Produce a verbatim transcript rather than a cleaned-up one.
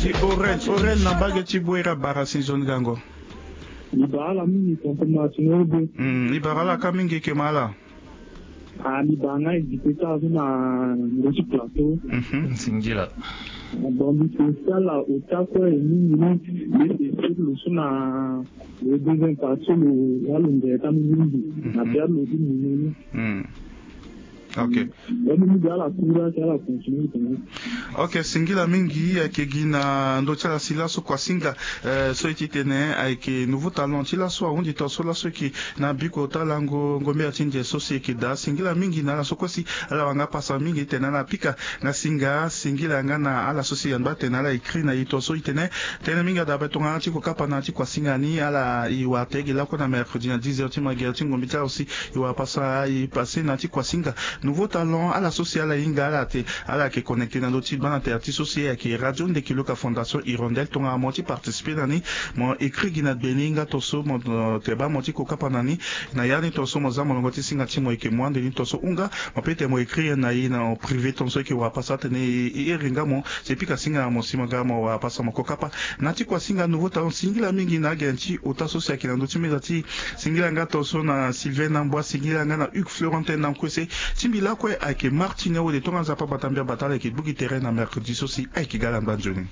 Ti oren oren na mbage ti bwera bara si nzoni gango. Mbi bara ala mingi tonton martino ebe. Mbi bara ala ka mingi eke ma ala. Ah, mbi bara nga ejipeta so na ngo ti plateau. Singila. Bon mbi spécial ota kue mingi ni. Mbi spécial lo so na le deuxième partie lo ya lo ngere ka mingi na bia lo ti mini ni. Ok. Ok, singila mingi ayeke gi na ndö ti ala si laso kuasinga. So e ti tene ayeke nouveau talent ti laso ahunzi tongaso laso eke na biko ta lango ngombera ti nze so si eke daa singila mingi na ala so kue si ala wara nga pasa mingi tene ala pika nga singa singila nga na ala so si angba tene ala écrit na e tongaso e tene. Tënë mingi adabe tongana ti kokapa na ti kuasinga ni ala e wara tege lakue na mercredi na dix heures ti magere ti ngombi ti ala aussi. E wara pasa e passé na ti kuasinga nouveau talent ala so si ala hinga ala te. Ala yeke connecté na ndö ti bana tere ti so si ayeke radio ndeki loka fondation hirondelle tongana mo ti participer na ni. Mo écrit gi na gbe ni nga tongaso mo te baa mo ti kokapa na ni. Na ya ni tongaso mo za molongo ti singa ti mo yeke mo ande ni tongaso hunga. Mo peut-être mo écrire na e na privé tongaso e yeke wara pasa atene e iri nga mo si e pika singa na mo si mo ga mo wara pasa mo kokapa. Na ti kuasinga nouveau talent singila mingi na agene ti ota so si ayeke na ndö ti meza ti singila nga tongaso na sylvain namboi singila nga na hugues florentin na nkue se ti mbi lakue ayeke martine wode tongana nzapa bata mbi abata ala yeke gbu gi tere na mercredi so si ayeke ga ala ngba nzoni.